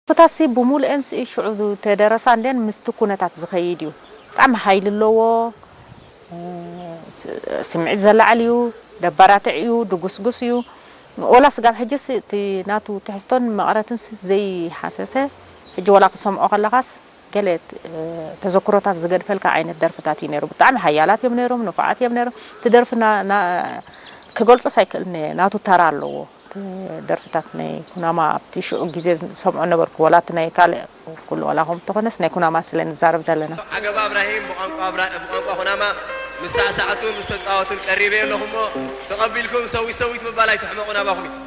ደርፍታሲ ብምሉኤን ሲ ሽዑ ተደረሳ እንዴን ምስቲ ኩነታት ዝኸይድ እዩ። ብጣዕሚ ሓይሊ ኣለዎ። ስምዒት ዘላዕል እዩ። ደባራትዕ እዩ። ድጉስጉስ እዩ። ወላ ስጋብ ሕጅስ እቲ ናቱ ትሕዝቶን መቐረትን ዘይሓሰሰ፣ ሕጂ ወላ ክሰምዖ ከለኻስ ገለ ተዘክሮታት ዝገድፈልካ ዓይነት ደርፍታት እዩ ነይሩ። ብጣዕሚ ሓያላት እዮም ነይሮም፣ ንፉዓት እዮም ነይሮም። እቲ ደርፊ ክገልጾስ ኣይክእልን እየ። ናቱ ተራ ኣለዎ። ደርፍታት ናይ ኩናማ ኣብቲ ሽዑ ግዜ ዝሰምዖ ነበርኩ። ወላ እቲ ናይ ካልእ ኩሉ ወላ ከም ተኾነስ ናይ ኩናማ ስለ ንዛረብ ዘለና። ዓገባ እብራሂም ብቋንቋ ኩናማ ምስ ሳዕሳዕቱን ምስ ተጻወቱን ቀሪበ ኣለኹ እሞ ተቐቢልኩም ሰዊት ሰዊት ምባል ኣይትሕመቑ ናባኹም እዩ።